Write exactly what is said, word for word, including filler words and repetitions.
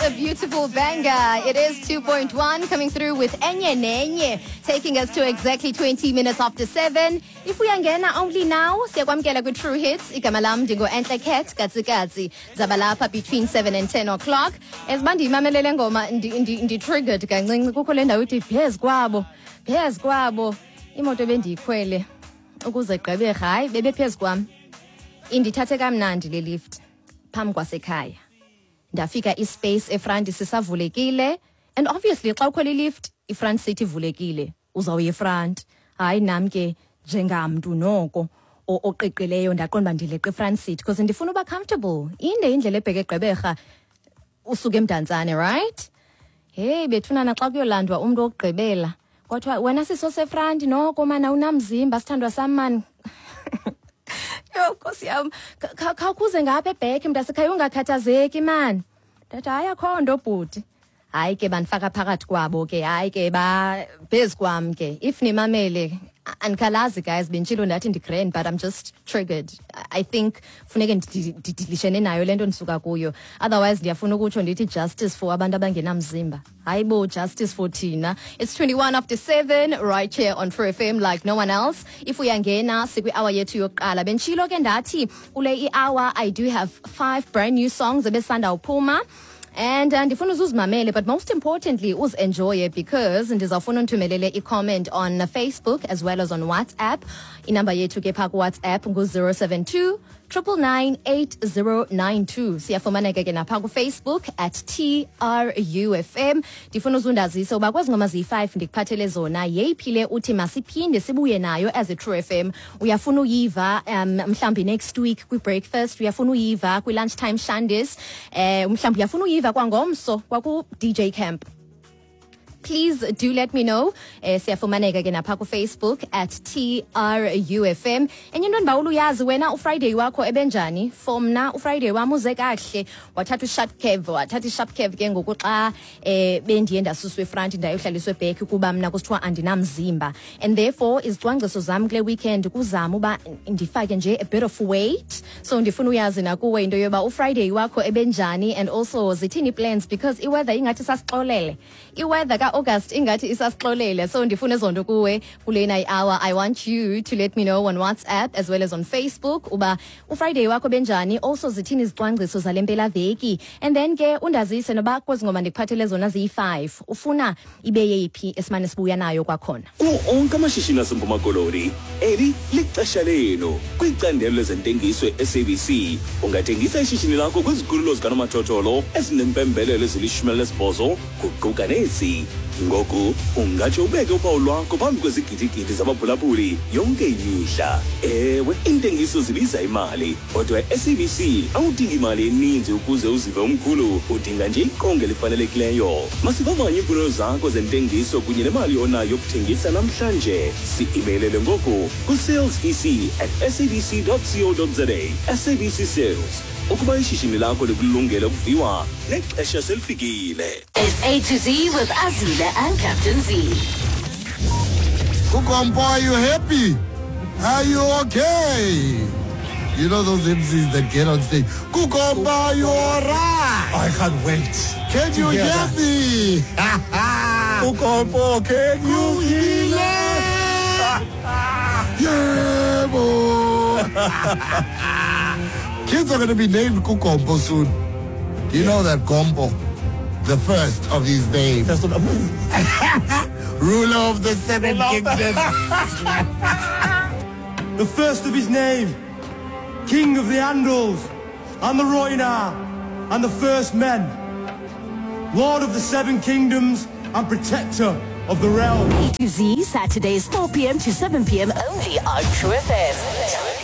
What a beautiful banger. It is two point one coming through with Enye Nenye, taking us to exactly twenty minutes after seven. If we uyangena only now, siyakwamkela ku True Hits. Igama lam ndingo Enhle Cat Katsikatsi. Zabalapha between seven and ten o'clock. Ezibandi imamelele ngoma ndi triggered kancinci kukho le ndawo ithi phezu kwabo. Phezu kwabo. Imoto bendiyikhwele ukuze gqebe hayi bebe phezu kwam. Indithathe kamnandi le lift phambi kwasekhaya. Ndafika ispace efront sisavulekile, and obviously xa ukhwela ilift ifront seat ivulekile, uzawuya efront. Hayi nam ke njengamntu noko oqiqileyo ndaqonda ndileqe ifront seat because ndifuna uba comfortable. Inde indlela ebheke eGqeberha usuke eMdantsane, right? Hey bethunana xa kuyolandwa umntu wokugqibela kwathiwa wena siso sefront noko mana unamzimba sithandwa sam mani. Yo Nkosi yam, khawukhuze ngapha ebheke mntasekhaya ungakhathazeki mani. Ndathi hayi akho nto bhuti. Hayi ke bandifaka phakathi kwabo ke, hayi ke ba phezu kwam ke. If nimamele andikhalazi guys, benditshilo ndathi ndi-grand but I'm just triggered. I think funeke ndidilishene nayo le nto ndisuka kuyo. Otherwise ndiyafuna ukutsho ndithi justice for abantu abangenamzimba. Hayi bo, justice for thina. It's twenty-one after seven right here on True F M like no one else. If uyangena sikwi-hour yethu yokuqala. Benditshilo ke ndathi kule i-hour I do have five brand new songs ebesanda uphuma. And ndifuna uzuzimamele, but most importantly uzenjoye because ndizawufuna undithumelele i-comment on Facebook as well as on WhatsApp. Inamba yethu ke phaa ku-WhatsApp ngu-zero seven two, triple nine, eight zero nine two. Siyafumaneka ke napha ku-Facebook at T R U F M. Ndifuna uzundazise uba kwezi ngoma ziyi-five ndikuphathele zona yeyiphi le uthi masiphinde sibuye nayo as a True F M. Uyafuna uyiva um, mhlawumbi next week kwi-breakfast, uyafuna uyiva kwi-lunchtime shandis, eh, mhlawumbi uyafuna uyiva kwangomso kwaku-D J Camp. Please do let me know. Eh, siyafumaneka ke napha ku-Facebook at T R U F M. Enye into ndibawula uyazi wena uFriday wakho ebenjani? For mna uFriday wam uze kakuhle. Wathatha usharp curve, wathatha isharp curve ke ngoku xa eh bendiye ndasuswa efront ndayohlaliswa eback kuba mna kusithiwa andinamzimba. And therefore izicwangciso zam kule weekend kuzama uba ndifake nje a bit of weight. So ndifuna uyazi nakuwe into yoba uFriday wakho ebenjani and also zithini plans because iweather ingathi sasixolele. Iweather ka August ingathi isasixolele. So ndifuna ezonto kuwe kulena i-hour. I want you to let me know on WhatsApp as well as on Facebook uba uFriday wakho benjani, also zithini izicwangciso zale mpelaveki, and then ke undazise noba kwezi ngoma ndikuphathele zona ziyi-five ufuna ibe yeyiphi esimane sibuya nayo kwakhona. Kuwo onke amashishini aseMpuma Koloni, eli lixesha lenu. Kwicandelo lezentengiso e-S A B C ungathengisa ishishini lakho kwizikhululo zikanomathotholo ezinempembelelo ezilishumi elinesibhozo kuquka nezi. Ngoku ungatsho ubeke uphawu lwakho phambi kwezigidigidi zabaphulaphuli yonke imihla. Ewe, iintengiso zibiza imali, kodwa e-S A B C awudingi imali eninzi ukuze uzive umkhulu, udinga nje iqonga elifanelekileyo. Masivavanye iimfuno zakho zentengiso kunye nemali onayo yokuthengisa namhlanje. Si-imeylele ngoku ku-sales e c at s a b c dot co dot za. S A B C Sales, ukuba ishishini lakho likulungele ukuviwa nexesha selifikile. It's A to Z with Azila and Captain Z. Kukompo, are you happy? Are you okay? You know those M Cs that get on stage. Kukompo, are you alright? I can't wait. Can you hear me? Kukompo, can you hear me? Yeah, boy. Kids are going to be named Kukompo soon. Do you know that Kompo? The first of his name. First of, Ruler of the seven kingdoms. The first of his name. King of the Andals and the Rhoynar and the first men. Lord of the seven kingdoms and protector of the realm. A to Z, Saturdays four p m to seven p m only on True F M.